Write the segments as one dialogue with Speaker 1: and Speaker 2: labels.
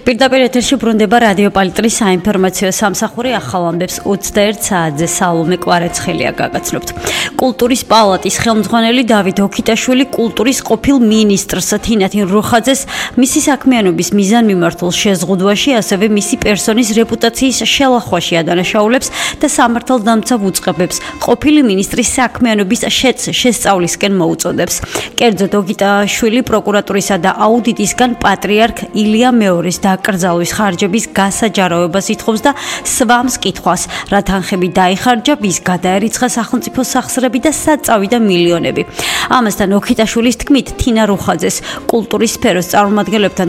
Speaker 1: პირდაპირ ეთერში ბრუნდება რადიო პალიტრის საინფორმაციო სამსახური ახალ ამბებს 21 საათზე სალომე კვარაცხელია გაგაცნობთ. კულტურის პალატის ხელმძღვანელი დავით ოქიტაშვილი კულტურის ყოფილ მინისტრს თინათინ როხაძეს მისი საქმიანობის მიზანმიმართულ შეზღუდვაში, ასევე მისი პერსონის რეპუტაციის შელახვაში ადანაშაულებს და სამართალდამცავ უწყებებს ყოფილი მინისტრის საქმიანობის შესწავლისკენ მოუწოდებს. კერძოდ ოქიტაშვილი პროკურატურისა და აუდიტისგან პატრიარქ ილია მეორის დაკრძალვის ხარჯების გასაჯაროებას ითხოვს და სვამს კითხვას, რა თანხები დაიხარჯა, ვის გადაერიცხა სახელმწიფო სახსრები და სად წავიდა მილიონები. ამასთან ოქიტაშვილის თქმით, თინა როხაძეს კულტურის სფეროს წარმომადგენლებთან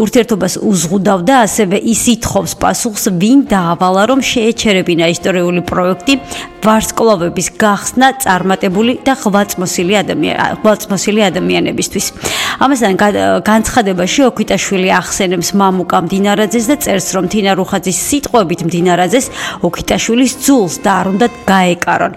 Speaker 1: ურთიერთობას უზღუდავდა, ასევე ის ითხოვს პასუხს, ვინ დაავალა, რომ შეეჩერებინა ისტორიული პროექტი ვარსკვლავების გახსნა წარმატებული და ღვაწლმოსილი ადამიანებისთვის. ამასთან განცხადებაში ოქიტაშვილი ახსენებს მამუკა მდინარაძეს და წერს, რომ თინა როხაძის სიტყვებით მდინარაძეს ოქიტაშვილის ძულს და არ უნდა გაეკარონ.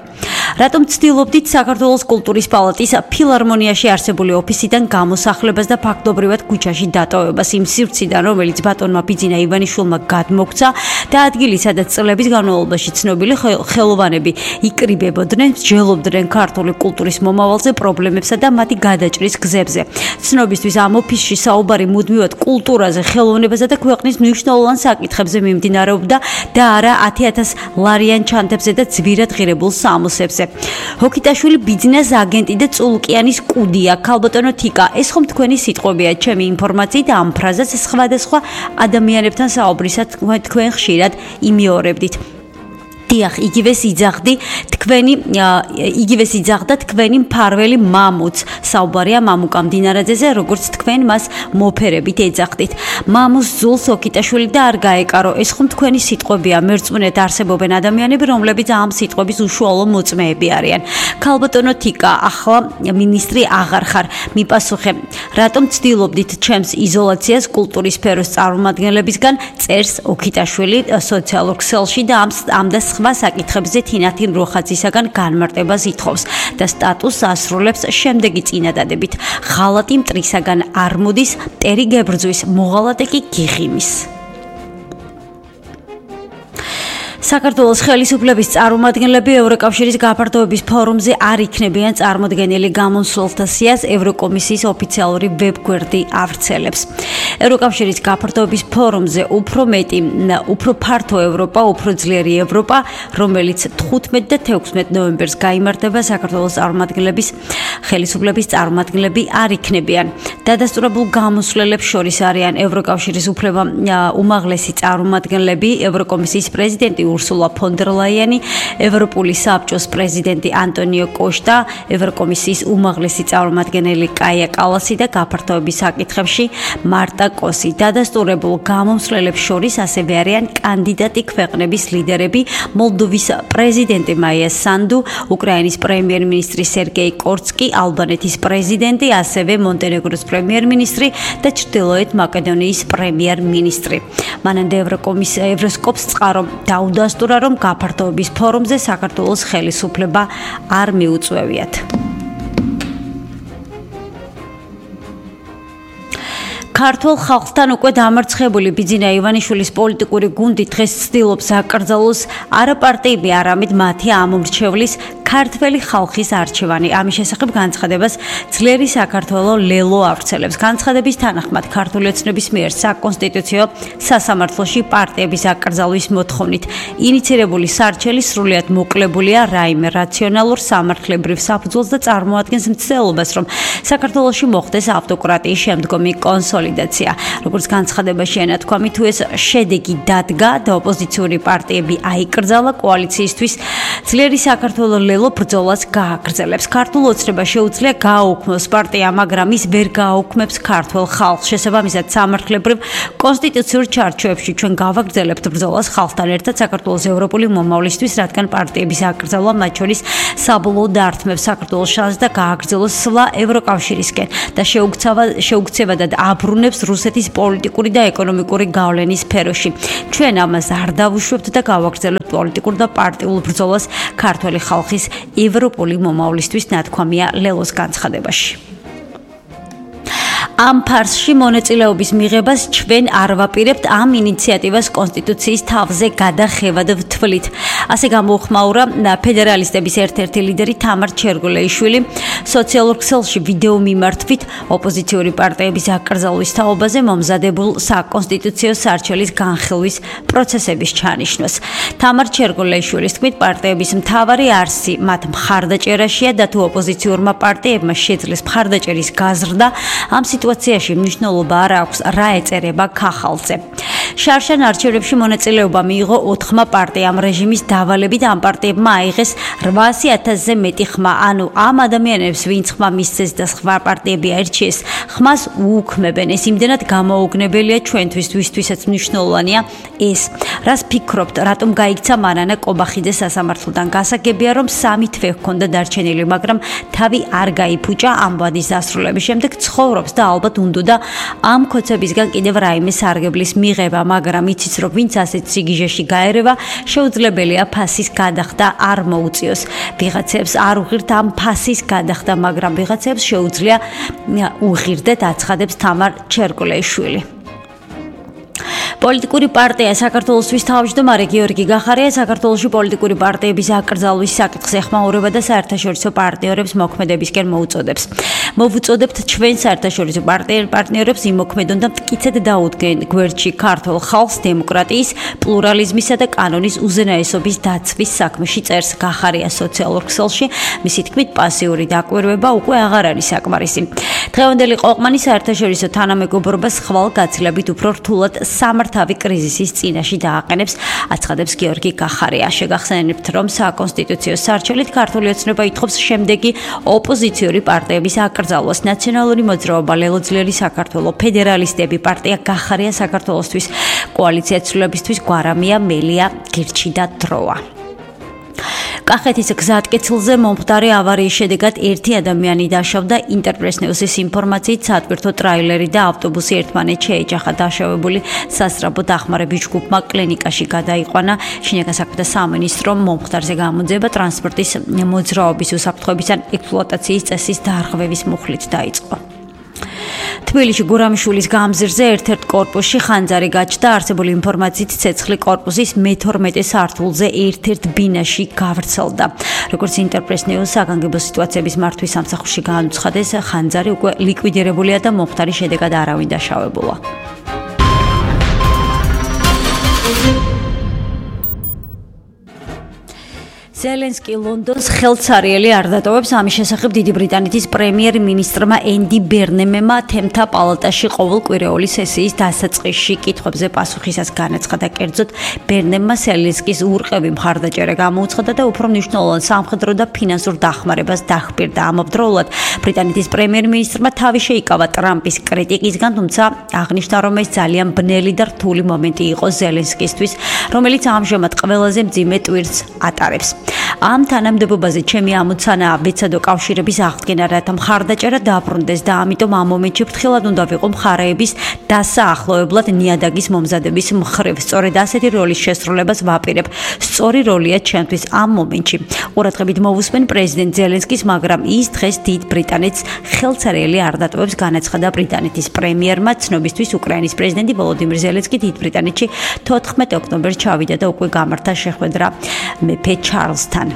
Speaker 1: რატომ ცდილობდით საქართველოს კულტურის პალატის ფილარმონიაში არსებული ოფისიდან გამოსახლებას და ფაქტობრივად ქუჩაში დატოვებას იმ სივრციდან, რომელიც ბატონმა ბიძინა ივანიშვილმა გადმოგცა და ადგილი, სადაც წლების განმავლობაში ცნობილი ხელოვანები იკრიბებოდნენ, მსჯელობდნენ ქართული კულტურის მომავალზე, პრობლემებსა და მათი გადაჭრის გზებზე. ცნობისთვის ამ ოფისში საუბარი მუდმივად კულტურაზე, ხელოვნებაზე და ქვეყნის მნიშვნელოვან საკითხებზე მიმდინარეობდა და არა 10,000 ლარიან ჩანთებზე და ძვირად ღირებულ სამოსებზე. ოქიტაშვილი ბიზნეს აგენტი და წულკიანის კუდია, ქალბატონო თიკა, ეს ხომ თქვენი სიტყვებია, ჩემი ინფორმაციით ამ ფრაზას სხვადასხვა ადამიანებთან საუბრისას თქვენ ხშირად იმეორებდით. დიახ, იგივე სიძახდა თქვენი მფარველი მამუც. საუბარია მამუკა მდინარაძეზე, როგორც თქვენ მას მოფერებით ეძახდით. მამუს ძულს ოქიტაშვილი და არ გაეკარო. ეს ხომ თქვენი სიტყვებია, მერწმუნედ არსებობენ ადამიანები, რომლებიც ამ სიტყვების უშუალო მოწმეები არიან. ქალბატონო თიკა, ახლა მინისტრი აღარ ხარ. მიპასუხე, რატომ ცდილობდით ჩემს იზოლაციას კულტურის სფეროს წარმომადგენლებისგან, წერს ოქიტაშვილი სოციალურ ქსელში და ამ და სხვა საკითხებზე თინათინ როხაძისაგან განმარტებას ითხოვს და სტატუსს ასრულებს შემდეგი წინადადებით. ღალატი მტრისაგან არ მოდის, მტერი გებრძვის, მოღალატე კი გიღიმის. საქართველოს ხელისუფლების წარმომადგენლები ევროკავშირის გაფართოების ფორუმზე არ იქნებიან წარმოდგენილი, გამოსვლთა სიას ევროკომისიის ოფიციალური ვებგვერდი ავრცელებს. ევროკავშირის გაფართოების ფორუმზე უფრო ფართო ევროპა, უფრო ძლიერი ევროპა, რომელიც 15 და 16 ნოემბერს გაიმართება, საქართველოს ხელისუფლების წარმომადგენლები არ იქნებიან. დადასტურებულ გამოსვლელებს შორის არიან ევროკავშირის უმაღლესი წარმომადგენლები, ევროკომისიის პრეზიდენტი ურსულა ფონ დერ ლაიანი, ევროპული საბჭოს პრეზიდენტი ანტონიო კოშტა, ევროკომისიის უმაღლესი წარმომადგენელი კაია კალასი და გაფართოების საკითხებში მარტა კოსი. დადასტურებულ გამოსვლელებს შორის ასევე არიან კანდიდატი ქვეყნების ლიდერები, მოლდოვის პრეზიდენტი მაია სანდუ, უკრაინის პრემიერ-მინისტრი სერგეი კორცკი, ალბანეთის პრეზიდენტი, ასევე მონტენეგროს პრემიერ-მინისტრი და ჩრდილოეთ მაკედონიის პრემიერ-მინისტრი. მანამდე ევროსკოპს წყარო დაუდასტურა, რომ გაფართოების ფორუმზე საქართველოს ხელისუფლება არ მიუწვევიათ. ქართულ ხალხთან უკვე დამარცხებული ბიძინა ივანიშვილის პოლიტიკური გუნდი დღეს ცდილობს აკრძალოს არა პარტიები, არამედ მათი ამომრჩევლის ქართველი ხალხის არჩევანი. ამის შესახებ განცხადებას ძლიერი საქართველო ლელო ავრცელებს. განცხადების თანახმად ქართული ოცნების მიერ საკონსტიტუციო სასამართლოში პარტიების აკრძალვის მოთხოვნით ინიცირებული სარჩელი სრულიად მოკლებულია რაიმე რაციონალურ სამართლებრივ საფუძველს და წარმოადგენს მცდელობას, რომ საქართველოში მოხდეს ავტოკრატიის შემდგომი კონსოლიდაცია. როგორც განცხადებაში ენათქვამი, თუ ეს შედეგი დადგა და ოპოზიციური პარტიები აიკრძალა, კოალიციისთვის ძლიერი საქართველო ლელო ბრძოლას გააგრძელებს. ქართულ ოცნებას შეუძლია გააუქმოს პარტია, მაგრამ ის ვერ გააუქმებს ქართულ ხალხს. შესაბამისად, სამართლებრივ კონსტიტუციურ ჩარჩოებში ჩვენ გავაგრძელებთ ბრძოლას ხალხთან ერთად საქართველოს ევროპული მომავლისთვის, რადგან პარტიების აკრძალვა მათ შორის საბოლოო დარტყმებს საქართველოს შანსს და გააგრძელოს სვლა ევროკავშირისკენ და შეუქცევადად აბრუნებს რუსეთის პოლიტიკური და ეკონომიკური გავლენის სფეროში. ჩვენ ამას არ დავუშვებთ და გავაგრძელებთ პოლიტიკურ და პარტიულ ბრძოლას ქართული ხალხის ევროპული მომავლისთვის, ნათქვამია ლელოს განცხადებაში. ამ ფარსში მონაწილეობის მიღებას ჩვენ არ ვაპირებთ, ამ ინიციატივას კონსტიტუციის თავზე გადახევად ვთვლით. ასე გამოუხმაურა ფედერალისტების ერთ-ერთი ლიდერი თამარ ჩერგოლეიშვილი სოციალურ ქსელში ვიდეო მიმართვით ოპოზიციური პარტიების აკრძალვის თაობაზე მომზადებულ საკონსტიტუციო სარჩელის განხილვის პროცესების ჩანიშვნას. თამარ ჩერგოლეიშვილის თქმით, პარტიების მთავარი არსი მათ მხარდაჭერაშია და თუ ოპოზიციურმა პარტიებმა შეძლეს მხარდაჭერის გაზრდა, ამ სიტუაციაში მნიშვნელობა არ აქვს რა ეწერება ქახალზე. შარშან არჩევნებში მონაწილეობა მიიღო 4 პარტიამ რეჟიმის დავალებით ამ პარტიებმა აიღეს 800,000-ზე მეტი ხმა, ანუ ამ ადამიანებს ვინც ხმა მისცეს და სხვა პარტიები აირჩიეს, ხმას უუქმებენ. ეს იმდენად გამოუგნებელია ჩვენთვის, ვისთვისაც მნიშვნელოვანია ეს. რას ფიქრობთ, რატომ გაიქცა მარანა კობახიძე სასამართლოდან? გასაგებია, რომ 3 თვე ჰქონდა დარჩენილი, მაგრამ თავი არ გაიფუჭა ამ ვადის დასრულების შემდეგ ცხოვრობს და ალბათ უნდოდა ამ ქოცებისგან კიდევ რაიმე სარგებლის მიღება, მაგრამ იცის რომ ვინც ასეთ სიგიჟეში გაერევა, შეუძლებელია ფასის გადახდა არ მოუწიოს. ვიღაცებს არ უღირთ ამ ფასის გადახდა, მაგრამ ვიღაცებს შეუძლია უღირდეთ, აცხადებს თამარ ჩერგოლეიშვილი. პოლიტიკური პარტია საქართველოსთვის თავმჯდომარე გიორგი გახარია საქართველოში პოლიტიკური პარტიების აკრძალვის საკითხს ეხმაურება და საერთაშორისო პარტნიორებს მოქმედებისკენ მოუწოდებს. მოვუწოდებთ ჩვენ საერთაშორისო პარტნიორებს იმოქმედონ და მტკიცედ დაუდგენ გვერდში ქართულ ხალხს დემოკრატიის, პლურალიზმისა და კანონის უზენაესობის დაცვის საქმეში წერს გახარია სოციალურ ქსელში. მისი თქმით, პასიური დაკვირვება უკვე აღარ არის საკმარისი. დღევანდელი ყოყმანი საერთაშორისო თანამეგობრობას ხვალ-გაცილებით უფრო რთულად სამართავი კრიზისის წინაშე დააყენებს, აცხადებს გიორგი გახარია. შეგახსენებთ, რომ საკონსტიტუციო სარჩელით ქართული ოცნება ითხოვს შემდეგი ოპოზიციური პარტიების აკრძალვას: ნაციონალური მოძრაობა, ლელოძლიერი საქართველო, ფედერალისტები, პარტია გახარია საქართველოსთვის, კოალიცია ცვლილებისთვის, გვარამია, მელია, გირჩი და დროა. კახეთის გზატკეცილზე მომხდარი ავარიის შედეგად 1 ადამიანი დაშავდა. ინტერპრეს ნიუსის ინფორმაციით, სატვირთო ტრაილერი და ავტობუსი ერთმანეთს შეეჯახა. დაშავებული სასწრაფო დახმარების ჯგუფმა კლინიკაში გადაიყვანა. შინაგან საქმეთა სამინისტრომ მომხდარზე გამოძიება ტრანსპორტის მოძრაობის უსაფრთხოების ან ექსპლუატაციის წესის დარღვევის მუხლით დაიწყო. თბილისში გურამიშვილის გამზირზე ერთ-ერთ კორპუსში ხანძარი გაჩნდა. არსებული ინფორმაციით, ცეცხლი კორპუსის მე-12 სართულზე ერთ-ერთ ბინაში გავრცელდა. როგორც ინტერპრეს ნიუს საგანგებო სიტუაციების მართვის სამსახურში განუცხადეს, ხანძარი უკვე ლიკვიდირებულია და მომხდარის შედეგად არავინ დაშავებულა. ზელენსკი ლონდონს ხელცარიელი არ დატოვებს. ამის შესახებ დიდი ბრიტანეთის პრემიერ-მინისტრმა ენდი ბერნემმა თემთა პალატაში ყოველკვირეული სესიის დასაწყისში კითხვებზე პასუხისას განაცხადა. კერძოდ, ბერნემმა ზელენსკის ურყევი მხარდაჭერა გამოუცხადა და უფრო მნიშვნელოვან სამხედრო და ფინანსურ დახმარებას დახპირდა. ამავდროულად, ბრიტანეთის პრემიერ-მინისტრმა თავი შეიკავა ტრამპის კრიტიკისგან, თუმცა აღნიშნა, რომ ეს ძალიან ბნელი და რთული მომენტი იყო ზელენსკისთვის, რომელიც ამჟამად ყველაზე მძიმე ტვირთს ატარებს. ამ თანამდებობაზე ჩემი ამოცანაა ბეცადო კავშირების აღდგენა, რათა მხარდაჭერა დაბრუნდეს და ამიტომ ამ მომენტში ფრთხილად უნდა ვიყო მხარეების დასაახლოებლად ნიადაგის მომზადების მხრივ. სწორედ ასეთი როლის შესრულებას ვაპირებ. სწორი როლია ჩემთვის ამ მომენტში. ყურადღებით მოვუსმენ პრეზიდენტ ზელენსკის, მაგრამ ის დღეს დიდ ბრიტანეთს ხელცარიელი არ დატოვებს, განაცხადა ბრიტანეთის პრემიერმა. ცნობისთვის, უკრაინის პრეზიდენტი ვოლოდიმირ ზელენსკი დიდ ბრიტანეთში 14 ოქტომბერს ჩავიდა და უკვე გამართა შეხვედრა მეფე ჩარლზთან.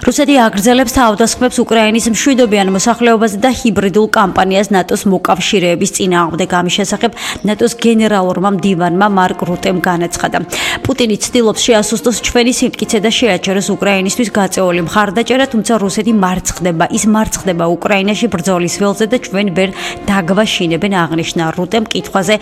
Speaker 1: რუსეთი აგრძელებს თავდასხმებს უკრაინის მშვიდობიან მოსახლეობაზე და ჰიბრიდულ კამპანიას ნატოს მოკავშირეების წინააღმდეგ. ამის შესახებ ნატოს გენერალურმა მდივანმა მარკ რუტემ განაცხადა. პუტინი ცდილობს შეასუსტოს ჩვენი სიმტკიცე და შეაჩეროს უკრაინისთვის გაწეული მხარდაჭერა, თუმცა რუსეთი მარცხდება. ის მარცხდება უკრაინაში ბრძოლის ველზე და ჩვენ ვერ დაგვაშინებენ, აღნიშნა რუტემ კითხვაზე,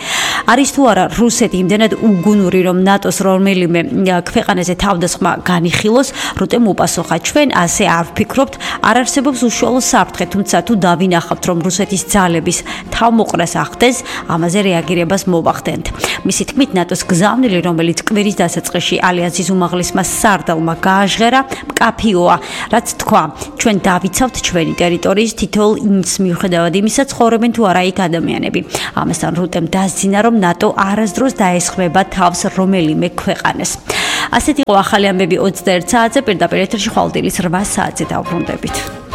Speaker 1: არის თუ არა რუსეთი იმდენად უგუნური, რომ ნატოს რომელიმე ქვეყანაზე თავდასხმა განიხილოს. რუტემ უპასუხა, ჩვენ ასე არ ვფიქრობთ, არ არსებობს უშუალო საფრთხე, თუმცა თუ დავინახავთ, რომ რუსეთის ძალების თავმოყრას ახდენს, ამაზე რეაგირებას მოვახდენთ. მისი თქმით, ნატოს გზავნილი, რომელიც კვირის დასაწყისში ალიანსის უმაღლესმა სარდალმა გააჟღერა, მკაფიოა, რაც თქვა, ჩვენ დავიცავთ ჩვენი ტერიტორიის თითოეულ ინცს მიუხედავად იმისა, ცხოვრობენ თუ არა იქ ადამიანები. ამასთან რუტემ დასძინა, რომ ნატო არასდროს დაესხმება თავს რომელიმე ქვეყანას. ასეთი იყო ახალი ამბები 21 საათზე, პირდაპირ ეთერში ხვალ დილის 8 საათზე დავბრუნდებით.